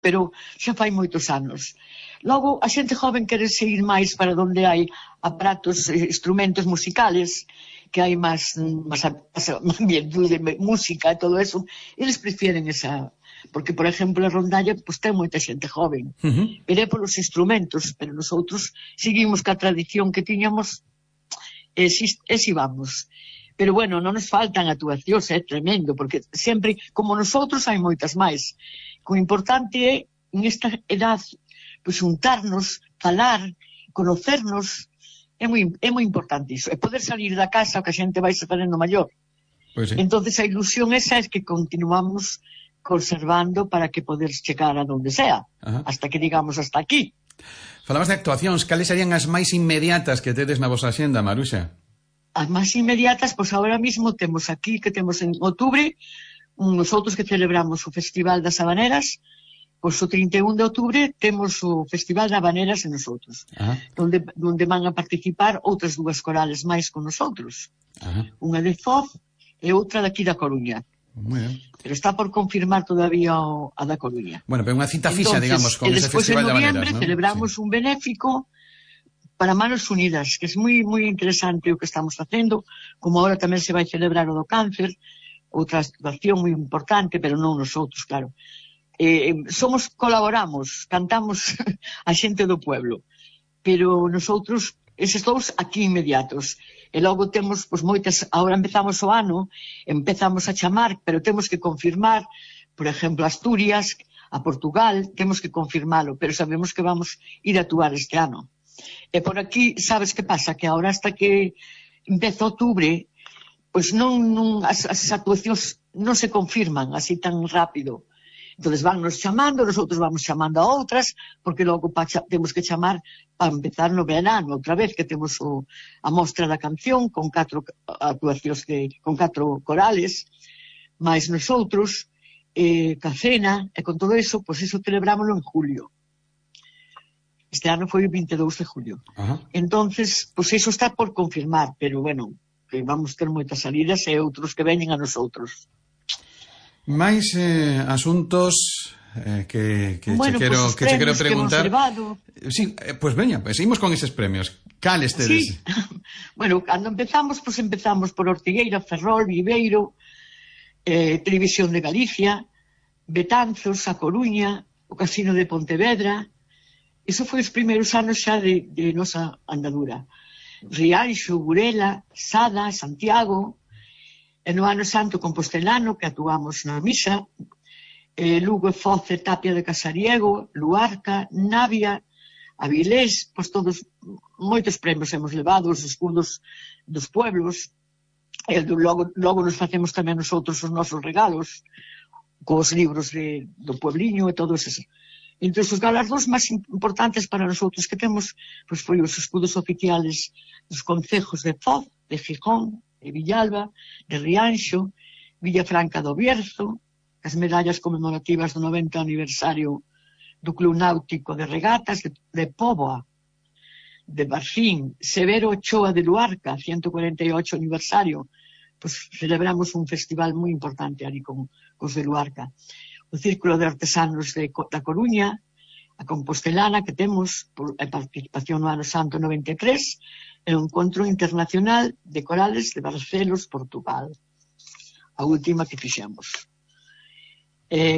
pero xa fai moitos anos. Logo, a xente joven quere seguir máis para onde hai aparatos, instrumentos musicales, que hai máis ambiente de música e todo eso, eles prefieren esa... Porque, por exemplo, a rondalla pues, ten moita xente joven. Pero é polos instrumentos, pero nosotros seguimos ca tradición que tiñamos e si vamos. Pero, bueno, non nos faltan actuacións, é tremendo, porque sempre, como nosotros, hai moitas máis. O importante é, en esta edad, pues, juntarnos, falar, conocernos, é moi importante iso. E poder salir da casa, que a xente vai se facendo maior. Pues sí. Entonces a ilusión esa é que continuamos conservando para que poder chegar a donde sea. Hasta que digamos hasta aquí. Falabas de actuacións, cales serían as máis inmediatas que tedes na vosa axenda, Maruxa? As máis inmediatas, pois agora mismo temos aquí, que temos en outubro, nosotros que celebramos o Festival das Habaneras, pois o 31 de outubro temos o Festival de Habaneras en nosotros, donde van a participar outras dúas corales máis con nosotros. Unha de Foz e outra daqui da Coruña. Muy bien. Pero está por confirmar todavía a da Coruña. Bueno, pero unha cita fixa, digamos, con ese Festival de Habaneras, ¿no? En noviembre celebramos un benéfico para Manos Unidas, que é moi interesante o que estamos facendo, como agora tamén se vai celebrar o do cáncer, outra situación moi importante, pero non nosotros, claro. Colaboramos, cantamos a xente do pueblo, pero nosotros, eses dous aquí inmediatos, e logo temos, pois, moitas, agora empezamos o ano, empezamos a chamar, pero temos que confirmar, por exemplo, Asturias, a Portugal, temos que confirmalo, pero sabemos que vamos ir a actuar este ano. E por aquí, sabes que pasa? Que agora hasta que empeza outubro, pois as actuacións non se confirman así tan rápido. Entonces vannos chamando, nosotros vamos chamando a outras, porque logo temos que chamar para empezar no verano, outra vez que temos a mostra da canción con 4 actuacións, con 4 corales, máis nosotros, ca cena, e con todo eso, pois eso celebrámoslo en julio. Este ano foi o 22 de julio. Entonces, pois eso está por confirmar, pero bueno, que vamos ter moitas salidas e outros que veñen a nosotros. Máis asuntos que che quero preguntar. Sí, pois veña, seguimos con eses premios. Cales tedes? Sí. Bueno, cando empezamos por Ortigueira, Ferrol, Viveiro, Televisión de Galicia, Betanzos, A Coruña, o Casino de Pontevedra. Iso foi os primeiros anos xa de nosa andadura. Rianxo, Burela, Sada, Santiago. E no ano santo compostelano, que actuamos na misa, Lugo e Foz e Tapia de Casariego, Luarca, Navia, Avilés, pois todos, moitos premios hemos levado, os escudos dos pueblos, e logo nos facemos tamén nosotros os nosos regalos, cos libros do puebliño e todos esos. Entre os galardóns máis importantes para nosotros que temos, pois foi os escudos oficiales dos concejos de Foz, de Gijón, de Villalba, de Rianxo, Villafranca do Bierzo, as medallas conmemorativas do 90 aniversario do Club Náutico de Regatas de Póvoa, de Barcín, Severo Ochoa de Luarca, 148 aniversario, pues celebramos un festival moi importante ali con os de Luarca. O Círculo de Artesanos da Coruña, a Compostelana que temos, a participación no ano santo 93, e o Encontro Internacional de Corales de Barcelos, Portugal, a última que fixemos.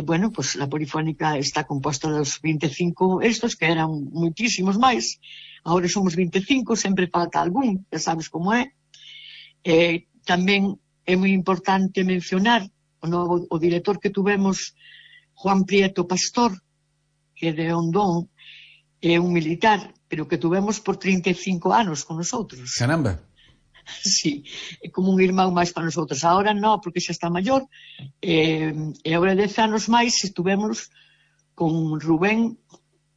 Bueno, pues a Polifónica está composta dos 25 estos, que eran moitísimos máis, agora somos 25, sempre falta algún, ya sabes como é. Tamén é moi importante mencionar o director que tuvemos, Juan Prieto Pastor, que é de Ondón, é un militar, pero que tuvemos por 35 anos con nosotros. Caramba. Sí, é como un irmão máis para nosotros. Ahora non, porque xa está maior, e agora 10 anos máis estuvemos con Rubén,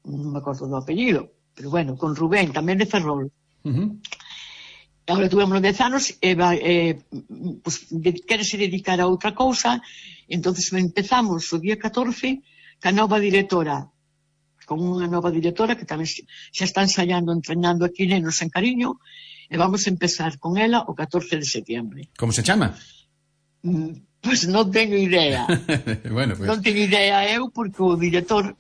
non me acordo do apellido, pero bueno, con Rubén, tamén de Ferrol. Agora tuvemos 10 anos e pues, querese dedicar a outra cousa, entonces empezamos o día 14 ca nova directora, con unha nova directora que tamén xa está ensaiando, entrenando aquí nenos en Cariño, e vamos a empezar con ela o 14 de setiembre. Como se chama? Pois non teño idea. Bueno, pues... Non teño idea eu, porque o director,